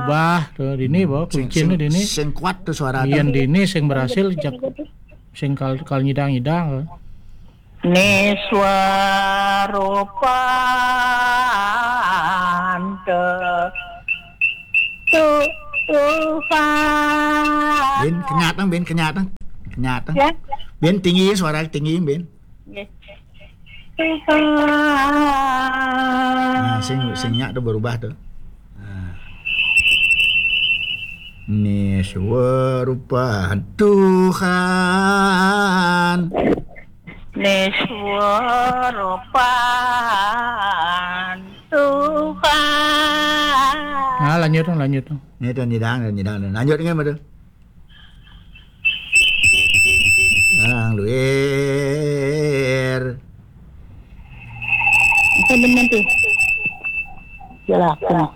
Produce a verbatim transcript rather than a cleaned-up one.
Bah, to dini, bah, kuncine dini. Sing kuat to suarane. Yen dini sing berhasil, jak sing kal, kal nyidang-nyidang, to. Niswarupan Tuhan. Bin, kenyat, Bang, Bin, kenyat, Bang. Kenyat, Bang. Ya. Bin, tinggi, suara tinggi, Bin. Nggih. Tuhan. Nah, sing, sing nyak to berubah to. Nah. Niswarupan Tuhan. Niswarupan Tuhan. Nah, lanjut, lanjut. Ini to nyidang, nyidang. Lanjut nggih, Madu. Nang luir. Itu bener tuh. Jelas, jelas.